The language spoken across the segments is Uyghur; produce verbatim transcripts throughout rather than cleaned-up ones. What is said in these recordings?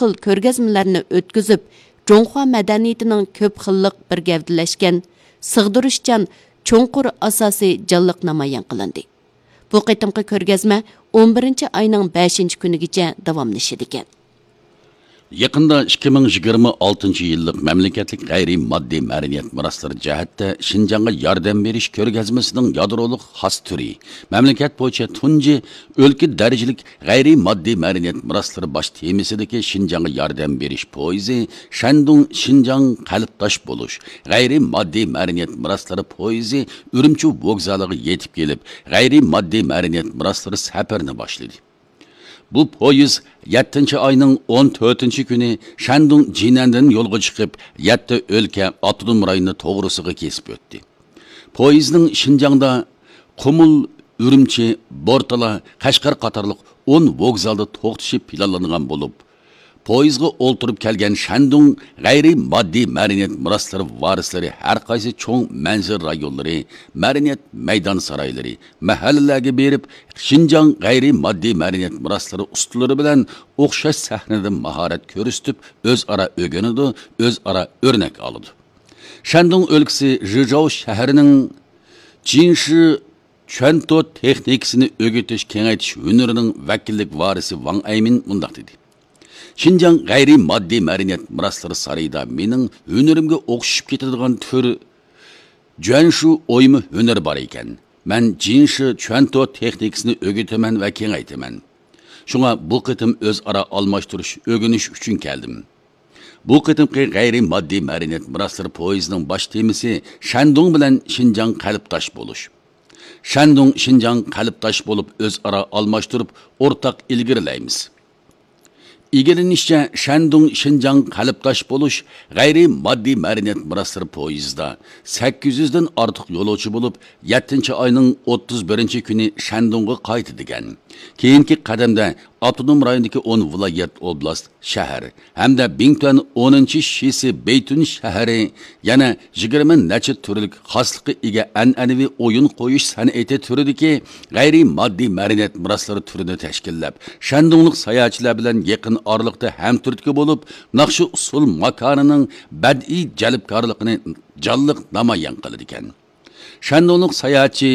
خىل كۆرگەزمىلەرنى ئۆتكۈزۈپ، جۇڭخۇا مەدەنىيىتىنىڭ كۆپ خىللىق بىر گەۋدىلەشكەن، سىغدۇرۇشچان، چوڭقۇر ئاساسى جانلىق نامايان قىلىندى. بۇ قېتىمقى كۆرگەزمە ئون بىرىنچى ئاينىڭ بەشىنچى كۈنىگىچە داۋاملىشىدىكەن. يېقىندا ئىككى مىڭ يىگىرمە ئالتىنچى يىللىق مەملىكەتلىك غەيرىي ماددىي مەدەنىيەت مىراسلىرى جەھەتتە شىنجاڭغا ياردەم بېرىش كۆرگەزمىسىنىڭ يادرولۇق خاس تۈرى، مەملىكەت بويىچە تۇنجى ئۆلكە دەرىجىلىك غەيرىي ماددىي مەدەنىيەت مىراسلىرى باش تېمىسىدىكى شىنجاڭغا ياردەم بېرىش پويىزى شەندۇڭ شىنجاڭ قەلبداش بولۇش غەيرىي ماددىي مەدەنىيەت مىراسلىرى پويىزى ئۈرۈمچى ۋوگزالىغا يېتىپ كېلىپ، غەيرىي ماددىي مەدەنىيەت مىراسلىرى سەپىرىنى باشلىدى. بۇ پويىز يەتتىنچى ئاينىڭ ئون تۆتىنچى كۈنى شەندۇڭ جىنەندىن يولغا چىقىپ، يەتتە ئۆلكە، ئاپتونوم رايونى توغرىسىغا كېسىپ ئۆتتى. پويىزنىڭ شىنجاڭدا قۇمۇل، ئۈرۈمچى، بورتالا، قەشقەر قاتارلىق ئون ۋوگزالدا توختىشى پىلانلانغان بولۇپ، پويىزغا ئولتۇرۇپ كەلگەن شەندۇڭ غەيرىي ماددىي مەدەنىيەت مىراسلىرى ۋارىسلىرى ھەر قايسى چوڭ مەنزىرە رايونلىرى، مەدەنىيەت مەيدان سارايلىرى، مەھەللىلەرگە بېرىپ، شىنجاڭ غەيرىي ماددىي مەدەنىيەت مىراسلىرى ئۇستىلىرى بىلەن ئوخشاش سەھنىدە ماھارەت كۆرسىتىپ، ئۆزئارا ئۆگىنىدۇ، ئۆزئارا ئۆرنەك ئالىدۇ. شەندۇڭ ئۆلكىسى ژىژاۋ شەھىرىنىڭ جىنشى چۈەنتو تېخنىكىسىنى ئۆگىتىش، كېڭەيتىش ھۈنىرىنىڭ ۋەكىللىك ۋارىسى ۋاڭ ئەيمىن مۇنداق دېدى: شىنجاڭ غەيرىي ماددىي مەدەنىيەت مىراسلىرى سارىيىدا مېنىڭ ھۈنىرىمگە ئوخشىشىپ كېتىدىغان تۈر جۈەنشۇ ئويما ھۈنىرى بار ئىكەن. مەن جىنشى چۈەنتو تېخنىكىسىنى ئۆگىتىمەن ۋە كېڭەيتىمەن. شۇڭا بۇ قېتىم ئۆزئارا ئالماشتۇرۇش، ئۆگىنىش ئۈچۈن كەلدىم. بۇ قېتىمقى غەيرىي ماددىي مەدەنىيەت مىراسلىرى پويىزىنىڭ باش تېمىسى شەندۇڭ بىلەن شىنجاڭ قەلبداش بولۇش. شەندۇڭ شىنجاڭ قەلبداش بولۇپ، ئۆزئارا ئالماشتۇرۇپ، ئورتاق ئىلگىرىلەيمىز. ئىگىلىنىشىچە، شەندۇڭ شىنجاڭ قەلبداش بولۇش غەيرىي ماددىي مەدەنىيەت مىراسلىرى پويىزىدا سەككىز يۈزدىن ئارتۇق يولۇچى بولۇپ، يەتتىنچى ئاينىڭ ئوتتۇز بىرىنچى كۈنى شەندۇڭغا قايتىدىكەن. كېيىنكى قەدەمدە ئاپتونوم رايوندىكى ئون ۋىلايەت، ئوبلاست، شەھەر ھەمدە بىڭتۈەن ئونىنچى شىسى بېيتۈن شەھىرى، يەنە يىگىرمە نەچچە تۈرلۈك خاسلىققا ئىگە ئەنئەنىۋى ئويۇن قويۇش سەنئىتى تۈرىدىكى غەيرىي ماددىي مەدەنىيەت مىراسلىرى تۈرىنى تەشكىللەپ، شەندۇڭلۇق ساياھەتچىلەر بىلەن يېقىن ئارىلىقتا ھەمتۈرتكە بولۇپ، ناخشا ئۇسسۇل ماكانىنىڭ بەدىئىي جەلپكارلىقىنى جانلىق نامايان قىلىدىكەن. شەندۇڭلۇق ساياھەتچى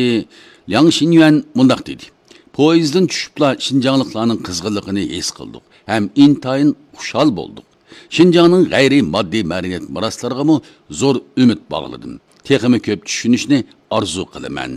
لياڭ شىنيۈەن مۇنداق دېدى: پويىزدىن چۈشۈپلا شىنجاڭلىقلارنىڭ قىزغىنلىقىنى ھېس قىلدۇق ھەم ئىنتايىن خۇشال بولدۇق. شىنجاڭنىڭ غەيرىي ماددىي مەدەنىيەت مىراسلىرىغىمۇ زور ئۈمىد باغلىدىم. تېخىمۇ كۆپ چۈشىنىشنى ئارزۇ قىلىمەن.